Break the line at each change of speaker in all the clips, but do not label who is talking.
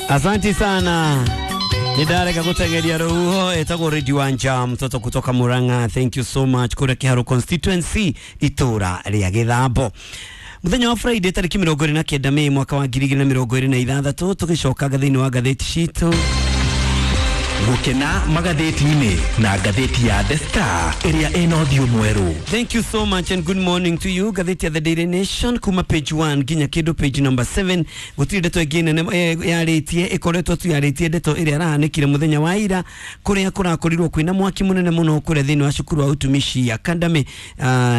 Asanti sana. Nĩndarega gũteng'eria rũhuho. Ĩtagwo Radio Wanja, mtoto kutoka Murang'a. Thank you so much. Kũrĩa Kĩharũ constituency, itũra rĩa Gĩthambo. Mũthenya wa Friday tarĩki 29 Mei mwaka wa 2026, tũgĩcokaga thĩinĩ wa ngathĩti citũ.
Gũkena magathĩti-inĩ na ngathĩti ya The Star ĩrĩa ĩna ũthiũ mwerũ.
Thank you so much and good morning to you. Ngathĩti ya The Daily Nation kuma page 1 nginya kĩndũ page number 7 gũtirĩ ndeto ĩngĩ nene yarĩtie, ĩkoretwo tu yarĩtie ndeto ĩrĩa ĩrahanĩkire mũthenya wa ira, kũrĩa kũrakorirwo kwĩna mwaki mũnene mũno kũrĩa thĩinĩ wa cukuru wa Utumishi Academy,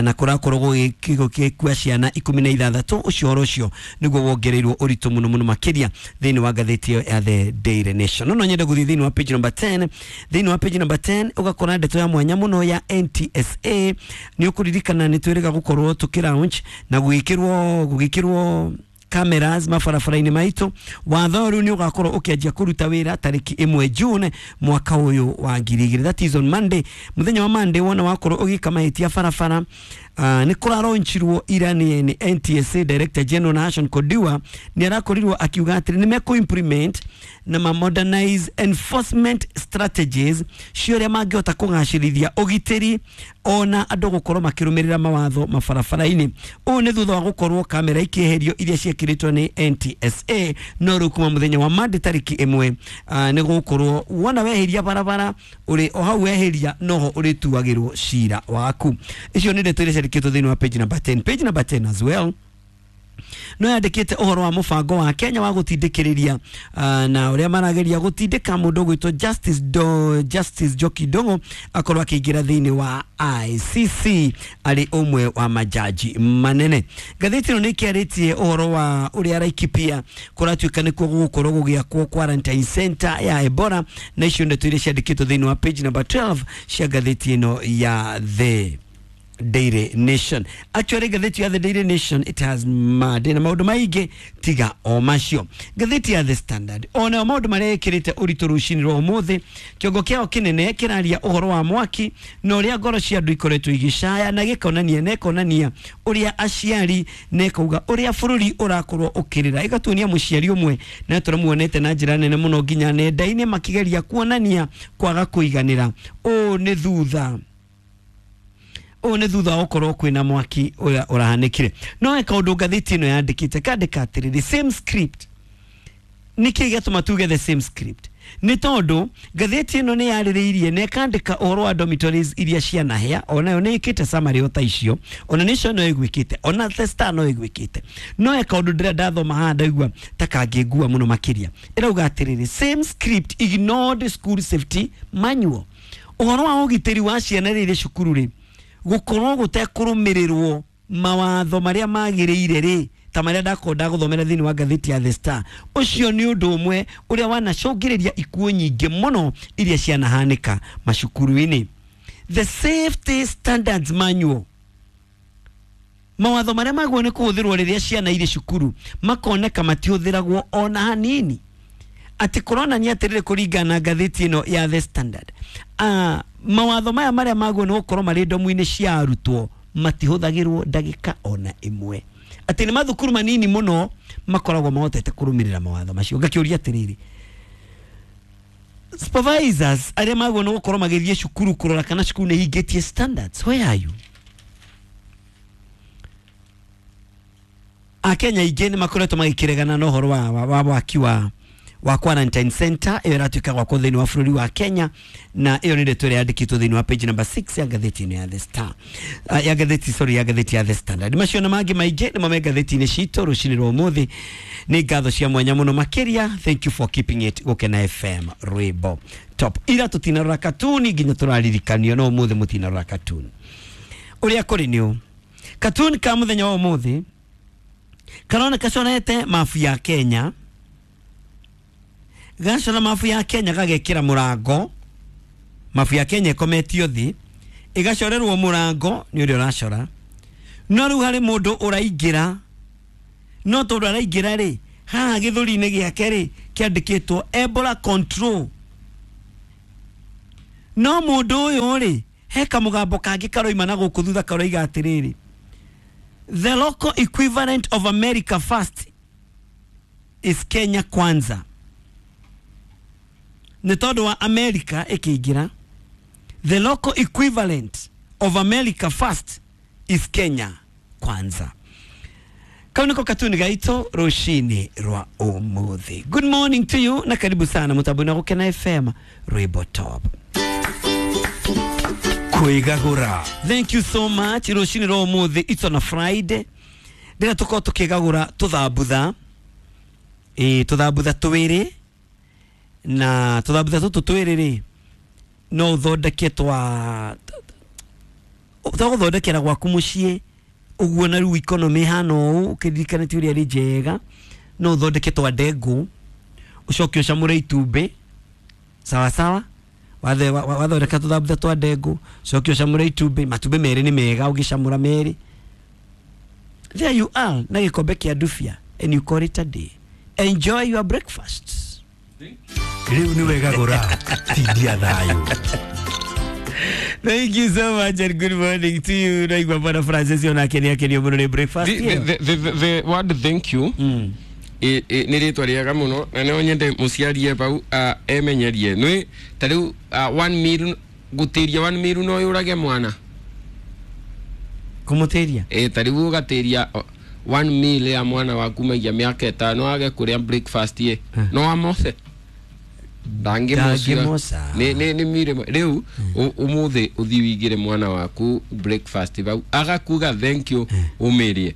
na kũrakorwo gũgĩkua ciana 16. Ũcio ũhoro ũcio nĩguo wongereirwo ũritũ mũno mũno makĩria thĩinĩ wa ngathĩti ĩyo ya The Daily Nation. No nyende gũthiĩ thĩinĩ wa page number 10. Thĩinĩ wa page number 10 ũgakora ndeto ya mwanya mũno ya NTSA. Nĩ ũkũririkana nĩ twĩrĩga gũkorwo tũkĩ launch na gũgĩkĩrwo cameras mabarabara-inĩ maitũ. Watho rĩu nĩ ũgakorwo ũkĩanjia kũruta wĩra tarĩki 1 June mwaka ũyũ wa 2000. That is on Monday. Mũthenya wa Monday wona wakorwo ũgĩka mahĩtia barabara, nĩ kũraronchirwo ira nĩ NTSA Director General Nahashon Kodiwa. Nĩ arakorirwo akiuga atĩrĩ nĩ mekũ implement na ma modernize enforcement strategies cia ũrĩa mangĩhota kũgacĩrithia ũgitĩri ona andũ gũkorwo makĩrũmĩrĩra mawatho mabarabara-inĩ. Ũũ nĩ thutha wa gũkorwo kamera ikĩeherio iria ciĩkĩrĩtwo nĩ NTSA. No rĩu kuma mũthenya wa Monday tarĩki 1, nĩ gũkorwo wona weheria barabara ũrĩ o hau weheria noho ũrĩtuagĩrwo cira waku. Icio nĩ ndeto iria ciandĩkĩtwo thĩinĩ wa page number 10. Page number 10 as well no yandĩkĩte ũhoro wa mũbango wa Kenya wa gũtindĩkĩrĩria, na ũrĩa marageria gũtindĩka mũndũ ũgwĩtwo Justice Njoki Ndung'u akorwo akĩingĩra thĩinĩ wa ICC arĩ ũmwe wa majaji manene. Ngathĩti ĩno nĩ ĩkĩarĩtie ũhoro wa ũrĩa Laikipia kũratuĩka nĩkuo gũgũkorwo gũgĩakwo quarantine center ya Ebola, na icio ndeto iria ciandĩkĩtwo thĩinĩ wa page number 12 cia ngathĩti ĩno ya The Daily Nation. Actually, ngathĩti ya The Daily Nation, it has made na maũndũ maingĩ tiga o macio. Ngathĩti ya The Standard onayo maũndũ marĩa ĩkĩrĩte ũritũ rũcinĩ rwa ũmũthĩ, kĩongo kĩao kĩnene kĩraria ũhoro wa mwaki na ũrĩa ngoro cia andũ ikoretwo igĩcaya, na gĩkonania na ĩkonania ũrĩa aciari na ĩkauga ũrĩa bũrũri ũrakorwo ũkĩrĩra. Ĩgatuonia mũciari ũmwe na tũramuonete na njĩra nene mũno nginya nenda-inĩ makĩgeria kuonania kwaga kũiganĩra. Ũũ nĩ thutha wa gũkorwo kwĩna mwaki ũrĩa ũrahanĩkire. No he kaũndũ ngathĩti ĩno yandĩkĩte, kandĩka atĩrĩrĩ, "Same script." Nĩkĩ gĩatũma tuge the same script? Nĩ tondũ ngathĩti ĩno nĩ yarĩrĩirie na ĩkandĩka ũhoro wa dormitories iria cianahĩa. Onayo nĩ ĩkĩte summary o ta icio, ona Nation no ĩgwĩkĩte, ona The Star no ĩgwĩkĩte. No he kaũndũ ndĩrĩa ndathoma haha ndaigua ta kangĩngua mũno makĩria. Ĩrauga atĩrĩrĩ, "Same script ignored school safety manual." Ũhoro wa ũgitĩri wa ciana rĩrĩ cukuru rĩ gũkorwo gũtekũrũmĩrĩrwo mawatho marĩa magĩrĩire rĩ, ta marĩa ndakorwo ndagũthomera thĩinĩ wa ngathĩti ya The Star. Ũcio nĩ ũndũ ũmwe ũrĩa wanacũngĩrĩria ikuũ nyingĩ mũno iria cianahanĩka macukuru-inĩ. The safety standards manual, mawatho marĩa magwo nĩ kũhũthĩrwo rĩrĩa ciana irĩ cukuru, makoneka matihũthĩragwo ona hanini. Atĩ kũronania atĩrĩrĩ, kũringana na ngathĩti ĩno ya The Standard, mawatho maya marĩa magwo nĩ gũkorwo marĩ ndomu-inĩ cia arutwo matihũthagĩrwo ndagĩka ona ĩmwe, atĩ nĩ mathukuru manini mũno makoragwo mahotete kũrũmĩrĩra mawatho macio. Ngakĩũria atĩrĩrĩ, supervisors arĩa magwo nĩ gũkorwo magĩthiĩ cukuru kũrora kana cukuru nĩ hingĩtie standards, where are you? Akenya aingĩ nĩ makoretwo magĩkĩregana na ũhoro wa waki wa quarantine center ĩyo ĩratuĩka gwakwo thĩinĩ wa bũrũri wa Kenya, na ĩyo nĩ ndeto ĩrĩa yandĩkĩtwo thĩinĩ wa page number 6 ya ngathĩti ĩno ya The Star, ya ngathĩti, sorry, ya ngathĩti ya The Standard. Macio na mangĩ maingĩ nĩmo me ngathĩti-inĩ citũ rũcinĩ rwa ũmũthĩ. Nĩ ngatho cia mwanya mũno makĩria. Thank you for keeping it Gũkena FM, rwĩmbo top. Ira tũtinarora katuni nginya tũraririkanio, no ũmũthĩ mũtinarora katuni. Ũrĩa kũrĩ nĩ ũũ, katuni ka mũthenya wa ũmũthĩ karoneka conete mabu ya Kenya, gacora mabu ya Kenya gagekĩra mũrango. Mabu ya Kenya ĩkometio thĩ, ĩgacorerwo mũrango nĩ ũrĩa ũracora. No rĩu harĩ mũndũ ũraingĩra, no tondũ araingĩra rĩ, haha gĩthũri-inĩ gĩake rĩ kĩandĩkĩtwo Ebola control. No mũndũ ũyũ rĩ, he kamũgambo kangĩ karoima na gũkũ thutha karoiga atĩrĩrĩ, "The local equivalent of America first is Kenya kwanza." Nĩ tondũ wa America ĩkĩingĩra, the local equivalent of America first is Kenya kwanza. Kau niko katuni gaito rucini rwa umuthi. Good morning to you na karibu sana mutambo na Gukena FM Rwimbo Top.
Kwigagura.
Thank you so much. Rucini rwa umuthi, it's on a Friday. Ndĩra tũkorwo tũkĩgagũra tũthambutha, ĩ tũthambutha twĩrĩ, na tũthambutha tũtũ twĩrĩ rĩ, no ũthondeke twa twa gwaku mũciĩ ũguo, na rĩu economy hana ũũ ũkĩririkanĩtie ũrĩa rĩ njega, no ũthondeke twa ndengũ, ũcoke ũcamũre itumbĩ sawa sawa. Wathondeka tũthambutha twa ndengũ, ũcoke ũcamũre itumbĩ, matumbĩ merĩ nĩ mega ũgĩcamũra merĩ. There you are na gĩkombe kĩa ndubia, and you call it a day. Enjoy your breakfast.
Rĩu nĩ wegagũra tindia thayũ.
Thank you so much and good morning to you. Naigua Bwana Francis onake nĩ akenio mũno nĩ breakfast ĩyo.
The word "thank you" nĩ rĩtwa rĩega mũno, na no nyende mũciarie bau emenyerie nĩ ta rĩu one meal, gũtĩria one meal no yũrage mwana.
Kũmũtĩria?
Ĩ, ta rĩu ũgatĩria one meal ya mwana waku maigia mĩaka 5 age kũrĩa breakfast ĩ, no amose? Ndangĩmoca.
Ndangĩmoca.
Nĩ meal ĩmwe. Rĩu ũmũthĩ ũthiĩ wĩigĩre mwana waku breakfast bau, agakuga "thank you", ũmĩrĩe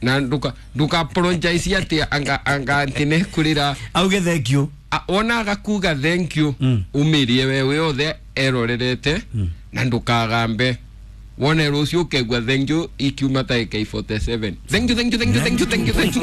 na nduka apologize atĩ anga atĩ nĩkũrĩra.
Auge "thank you".
Wona agakuga "thank you", ũmĩrĩe we wĩ othe erorerete na ndũkagambe. Wone rũciũ ũkegua "thank you" ikiuma ta AK47, "Thank you, thank you, thank you, thank you, thank you, thank you."